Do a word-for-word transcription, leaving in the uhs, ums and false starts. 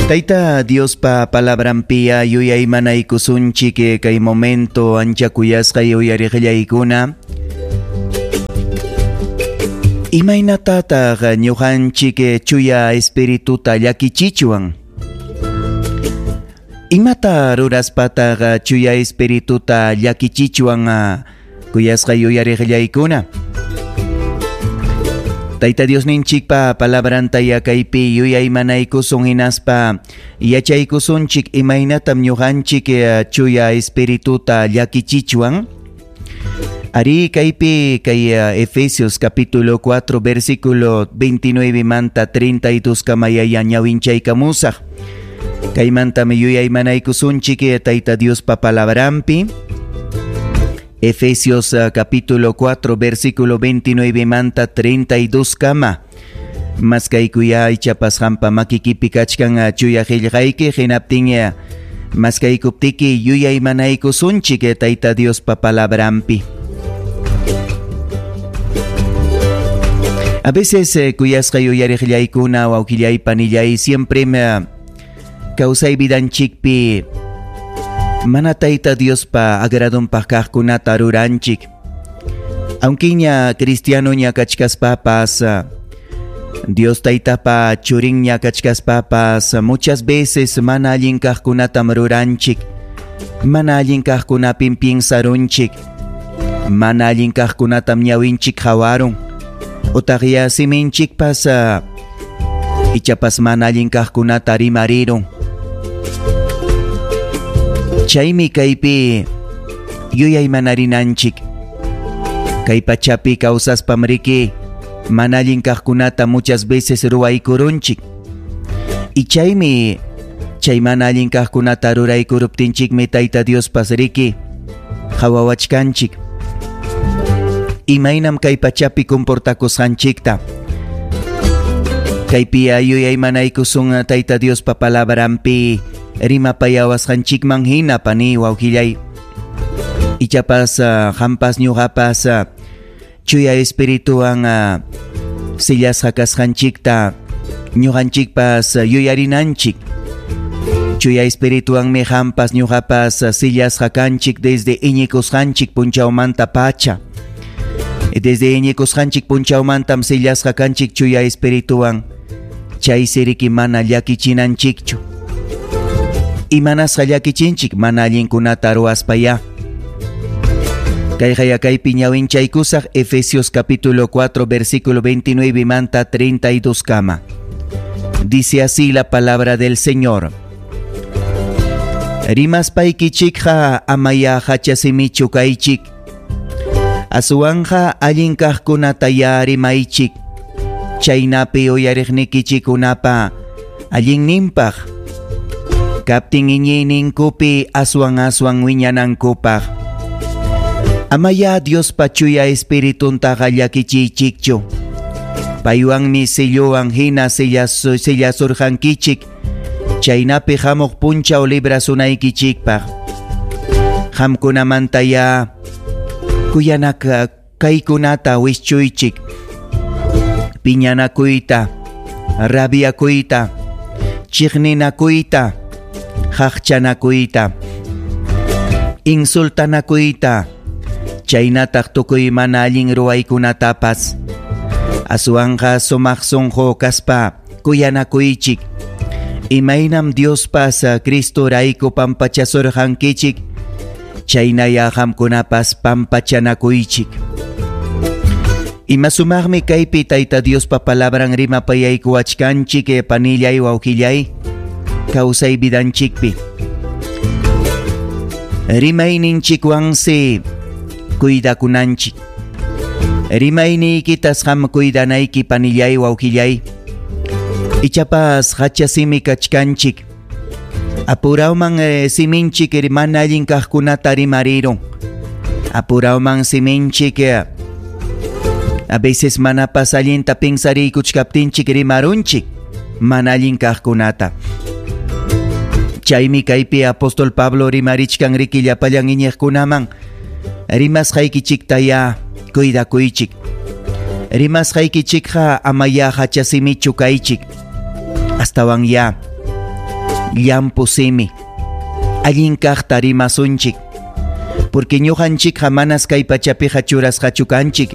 Tayta Diospa palabranpiya yuyaymanaykusunchik kay momento ancha kuyasqay uyariqllaykuna. Imaynatataq ñuqanchik chuya espirituta llakichichwan? Imata ruraspataq chuya espirituta llakichichwan kuyasqay uyariqllaykuna? Tayta Diosninchikpa palabranta yakaypi yuyaymanaykusun hinaspa yachaykusunchik imaynatam ñuqanchik chuya espirituta llakichichwan. Ari kaypi kay Efesios capítulo cuatro versículo veintinueve manta treinta y dos kamayaya ñawinchaykamusaq. Kaymantami yuyaymanaykusunchik Tayta Diospa palabranpi. Efesios capítulo cuatro versículo veintinueve manta treinta y dos kama. Maskaykuya ichapas hampa makikipi kachkan chuya qillqayki hinaptin maskaykuptiki yuyaymanaykusunchik Tayta Diospa palabranpi. A veces kuyasqa yuyariqllaykuna wawqillay panillay siempre me kawsay vidanchikpi mana Tayta Diospa agradonpaq kaqkunata ruranchik. Aunque ña cristiano ña kachkaspapas, Dios Taytapa churin ña kachkaspapas, muchas veces mana allin kaqkunatam ruranchik. Mana allin kaqkunapim piensarunchik. Mana allin kaqkunatam ñawinchik hawarun. Utaq ya siminchikpas ichapas mana allin kaqkunata rimarirun. Chaymi kaypi yuyaymanarinanchik. Kay pachapi kawsaspam riki mana allin kaqkunata muchas veces ruwaykurunchik. Y chaymi chay mana allin kaqkunata ruraykuruptinchikmi Tayta Diospas riki qhawawachkanchik. Imaynam kay pachapi comportakusqanchikta. Kaypi yuyaymanaykusun Tayta Diospa palabranpi rimapayawasqanchikman hina pani wawqillay. Ichapas hampas ñuqapas chuya espirituwan sillasqa kasqanchikta ñuqanchikpas yuyarinanchik. Chuya espirituwanmi hampas ñuqapas sillasqa kanchik desde iñikusqanchik punchawmanta pacha. Desde iñikusqanchik punchawmantam sillasqa kanchik chuya espirituwan. Chay siriki mana llakichinanchikchu. Imanasqa llakichinchik mana allinkunata ruwaspaya. Kayqa kaypi ñawinchaykusaq Efesios capítulo cuatro versículo veintinueve manta treinta y dos kama. Dice así la palabra del Señor. Rimaspaykichikqa amaya hachasimichu kaychik. Aswanja allin kaqkunataya rimaychik. Chaynapi uyariqnikichikunapa allinninpaq. Kaptin iñiyninkupi aswan aswan wiñanankupaq. Amaya Diospa chuya espirituntaqa llakichiychikchu. Paywanmi silluwan hina sillasurqankichik. Chaynapi hamuq punchaw librasunaykichikpaq. Qamkunamantaya kuyanaka kaykunata wischuychik. Piñanakuyta, rabiakuyta, chiqninakuyta, haqchanakuyta, insultanakuyta, chaynataq tukuy mana allin ruwaykunatapas. Aswanqa sumaq sunqu kaspa kuyanakuychik. Imaynam Diospas Cristorayku pampachasurqankichik, chaynaya qamkunapas pampachanakuychik. Ima sumaqmi kaypi Tayta Diospa palabran rimapayaykuwachkanchik panillay wawqillay kawsay vidanchikpi. Rimayninchikwansi cuidakunanchik. Rimayniykitas qam cuidanayki panillay wawqillay. Ichapas hachasimi kachkanchik. Apurawman eh, siminchik mana allin kaqkunata rimarirun. Apurawman siminchik eh, a veces manapas allinta pinsariykuchkaptinchik rimarunchik mana allin kaqkunata. Chaymi kaypi apóstol Pablo rimarichkan riki llapallan iñiqkunaman rimasqaykichiktaya cuidakuychik. Rimasqaykichikqa amaya hachasimichu kaychik. Astawan ya Llampu simi. Allin kaqta rimasunchik. Porque ñuqanchikqa manas kay pachapiqa churasqachu kanchik.